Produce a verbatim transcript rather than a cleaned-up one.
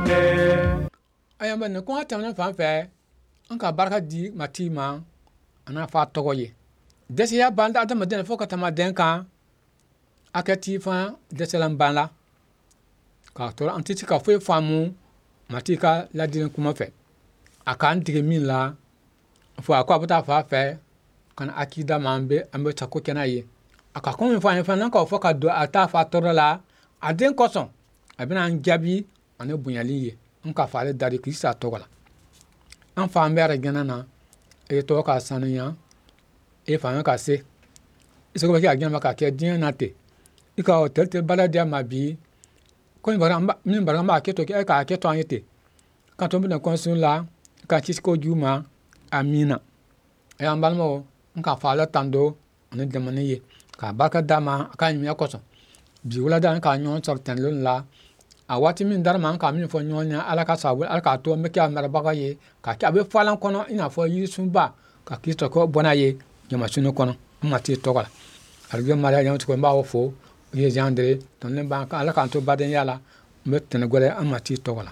kɛ. Ayiwa, nin kuma tɛmɛnen fan fɛ, an ka barika di Matigi ma a n'a fa tɔgɔ ye. Dɛsɛya ban adamaden fo ka tɛmɛ den kan, hakɛti fana dɛsɛlan ban la k'a tɔrɔ, an tɛ se ka foyi faamu Matigi ka ladili kuma fɛ. A k'an dege min la fo a ko a bɛ taa fa fɛ ka na akida ma, an bɛ an bɛ sago kɛ n'a ye. A ka kuma min fɔ an ye fana, n'an k'o fɔ ka don a taa fa tɔɔrɔ la a den kosɔn, a bɛna an jaabi ani bonyali ye. An ka fa ale dari Kirisa tɔgɔ la. An fa an bɛ arijɛnɛ na, e tɔgɔ ka sanuya, e fanga ka se, i sago bɛ kɛ arijɛnɛ ka kɛ diɲɛ na ten. I ka o tɛlɛ baara di an ma bi ko min bara an b'a kɛ to, e k'a kɛ to an ye ten ka to bɛna kɔnsun la ka kisi ko jugu ma. Amiina. An balimaw, n ka fa ala tando ani dɛmɛni ye k'a barika d'a ma a ka ɲumanya kosɔn. Bi wulada an ka ɲɔgɔn sɔrɔ tɛnɛlon la, a waati min dara ma, an ka min fɔ ɲɔgɔn ye, Ala ka sababu, Ala k'a to an bɛ kɛ a marabaga ye ka kɛ a bɛ falan kɔnɔ i n'a fɔ yirisunba ka Kristo ko bɔ n'a ye jamasuni kɔnɔ an Matigi tɔgɔ la. Arajo Mariya ɲɛmɔgɔ, n b'aw fo. O ye Jean Andre tɔnden b'an kan. Ala k'an to badenya la. N bɛ tɛnɛ gwɛrɛ an Matigi tɔgɔ la.